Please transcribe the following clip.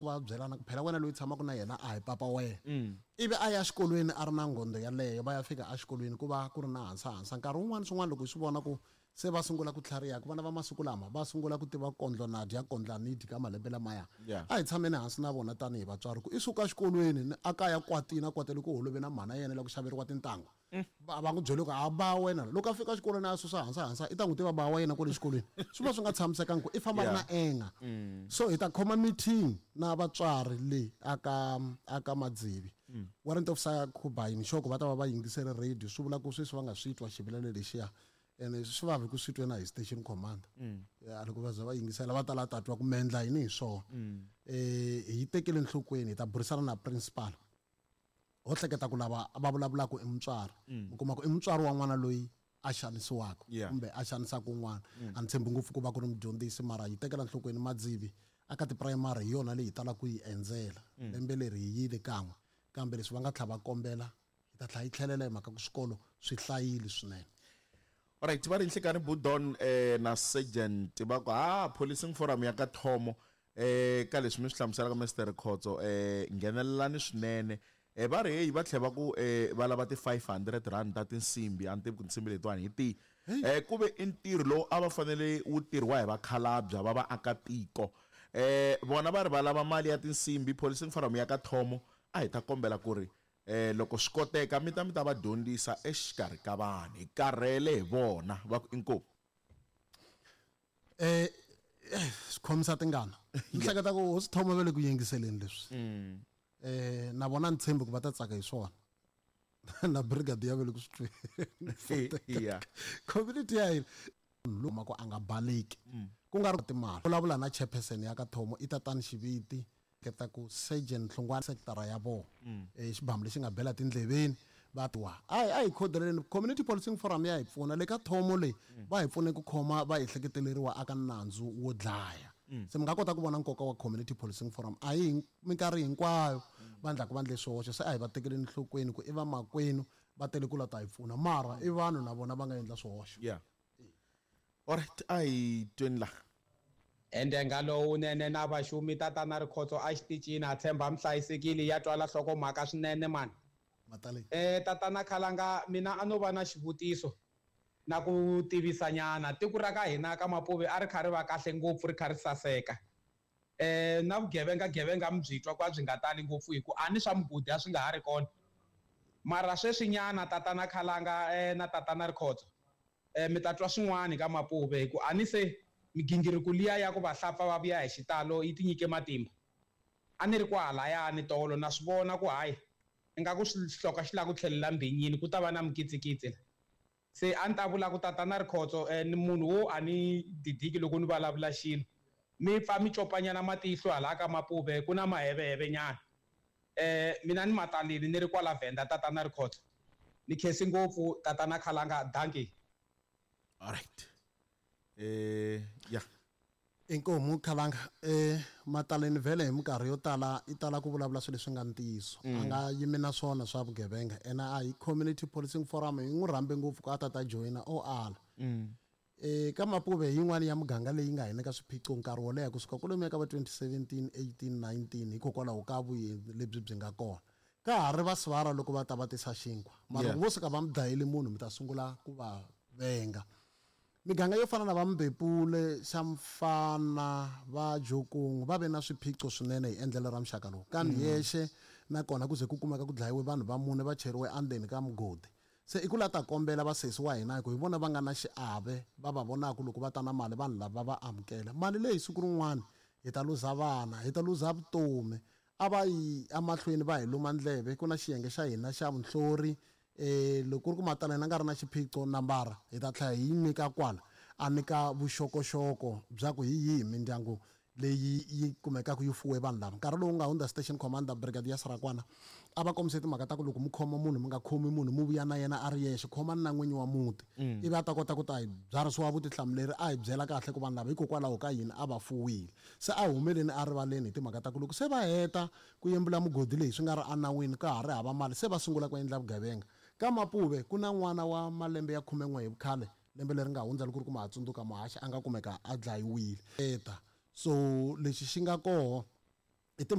Va byelana ku phela wena loyi tshamaka na yena a hi papa wena. Ivi a ya xikolweni a ri na nghondo yaleyo, va ya fika exikolweni ku va ku ri na hansahansa. Nkarhi wun'wana swin'wana loko hi swi vona ku se va sungula ku tlhariha, ku vana va masiku lama va sungula ku tiva kondlo na dya kondla ni dyi ka malembe lamaya. A hi tshameni hansi na vona tanihi vatswari ku i suka exikolweni ni a kaya kwatini a kwatele ku holove na mhana yena la ku xaveriwa tintangu. Va va n'wi byele ku a ba wena loko a fika exikolweni a susa hansi hansi i ta n'wi tiva ba wa yena kwale xikolweni swi va swi nga tshamisekangi ku i famba ri na enga so hi ta khoma meeting na vatswari le aka aka madzivi warrant officer Khubayi ni sure ku va ta va va yingisele radio swi vula ku sweswi va nga swi twa xivilelo lexiya ene swi vavi ku swi twe na hi station commander ya loko va za va yingisela va ta la ta twa ku mi endla yini hi swona hi yi tekele enhlokweni hi ta burisana na principal ho hleketa ku lava va vulavulaka i mutswari mi kuma ku i mutswari wa n'wana loyi a xanisiwaka kumbe a xanisaka un'wana a ni tshembi ngopfu ku va ku ri mudyondzisi mara yi tekela nhlokweni madzivi aka tipurayimari hi yona leyi hi talaka ku yi endzela lembe leri hi yile kan'we kambe leswi va nga tlha va kombela hi ta tlhela yi tlhelela hi mhaka ku swikolo swi hlayile swinene. Alright va ri nhlikani Budon na Sergeant va ku ha policing forum ya ka Thomo eh ka leswi mi swi hlamuselaka Mister Khotso eh nghenelelani swinene eh va ri heyi va tlhela va ku eh va lava ti 500 rand ta tinsimbi a ni tivi ku tinsimbi letiwani hi tihi eh ku ve i ntirho lowu a va fanele wu tirhiwa hi vakhalabya va vaakatiko eh vona va ri va lava mali ya tinsimbi policing forum ya ka Thomo a hi ta kombela ku ri Eh, loko swi koteka mi ta mi ta va dyondzisa exikarhi ka vanhu. Hi karhele hi vona. Va ku, Inkomu. Eh, eh, swi khomisa tingana. Ni hleketa ku hosi Thoma va le ku yingiseleni leswi. Eh, na vona ni tshembi ku va ta tsaka hi swona. Na brigadier va le ku swi tweni. Community ya hina luma ku a nga baleki. Ku nga ri timali. Vulavula na chairperson ya ka Thomo i tatani Xiviti. Keta ku Surgeon Hlongwane sekitara ya vona xibamu lexi nga bela tindleveni va twa a hi a hi khodeleleni community policing forum ya hi pfuna le ka thomo leyi va hi pfune ku khoma va ehleketeleriwa aka nandzu wo dlaya se mi nga kota ku vona nkoka wa community policing forum a hi minkarhi hinkwayo va ndlaku va ndle swoxe se a hi va tekeleni nhlokweni ku i vamakwenu va tele ku la ta hi pfuna mara i vanhu na vona va nga endla swihoxo. Yeah. Alright, a hi tweni la. Endenga lowunene na vaxumi tatana Rikhotso a xitichini a tshemba mi hlayisekile ya twala hlokomhaka swinene mani. Mataleni. Eh tatana Khalanga mina a no va na xivutiso na ku tivisa nyana tiko ra ka hina ka Mapuve a ri kha ri va kahle ngopfu ri kha ri saseka eh na vugevenga gevenga mi byi twa ku a byi nga tali ngopfu hi ku a ni swa mugodi a swi nga ha ri kona mara sweswi nyana tatana Khalanga eh na tatana Rikhotso Eh, mi ta twa swin'wana ka Mapuve hi ku a ni se migingiriko liya ya ku vahlapfa va vuya hi xitalo yi tinyike matimba. A ni ri kwahalayani tolo na swi vona ku hayi ingaku xihloka xi lava ku tlhelela mbhinyini ku ta va na mikitsikitsi la. Se a ni ta vula ku tatana Rikhotso eh, ni munhu wo a ni didiki loko ni vulavula xilo. Mi pfa mi copanyana matihlo halaya ka Mapuve ku na maheveheve nyana. Eh, mina ni Matalini ni ri kwala Venda tatana Rikhotso. Ni khensi ngopfu tatana Khalanga dankie. Alright. Eh, yeah. Inkomu Khalanga eh Mataleni vhele hi minkarhi yo tala i tala ku vulavula swilo leswi nga ntiyiso a nga yimi na swona swa vugevenga ene a hi community policing forum hi n'wi rhambe ngopfu ku a ta ta joyina o ala Eka Mapuve hi yin'wana ya miganga leyi nga hi nyika swiphiqo nkarhi wo leha kusuka kwalomuya ka va 2017, 18, 19 hikokwalaho ka vuendzi lebyi byi nga kona. Ka ha ri va sivara loko va ta va tisa xinkwa, mara loko vo suka va mi dlayele munhu mi ta sungula ku va venga. Miganga yo fana na va Mbepule, Xamfana, va Jokong va ve na swiphiqo swinene hi endlelo ra muxaka lowu. Ka Myexe na kona ku ze ku kumeka ku dlayiwe vanhu va mune va cheriwe endzeni ka mugodi. Se i ku la ta kombela vasesi wa hina hi ku hi vona va nga na xiave va va vonaka loko va ta na mali vanhu lava va va amukela. Mali leyi siku rin'wana hi ta luza vana, hi ta luza vutomi. A va yi emahlweni va hi luma ndleve, ku na xiyenge xa hina xa vunhlori loko ku ri ku Mataleni a nga ri na xiphiqo nambara hi ta tlhela hi yi nyika kwala a nyika vuxokoxoko bya ku hi yihi mindyangu leyi yi kumekaka yi fuwe vanhu lava. Nkarhi lowu nga hundza Station Commander Brigadier Sarakwana a va kombise timhaka ta ku loko mi khoma munhu mi nga khomi munhu mi vuya na yena a ri yexe, khomani na n'winyi wa muti ivi a ta kota ku ta hi byarhisiwa vutihlamuleri a hi byela kahle ku vanhu lava hikokwalaho ka yini a va fuwile. Se a humeleni erivaleni hi timhaka ta ku loko se va heta ku yembula mugodi leyi swi nga ri enawini ka ha ri hava mali se va sungula ku endla vugevenga. Ka Mapuve ku na n'wana wa malembe ya khumen'we hi vukhale Lembe leri nga hundza loko ku ri ku ma ha tsundzuka muhaxi a nga kumeka a dlayiwile. Eta. So lexi xi nga koho.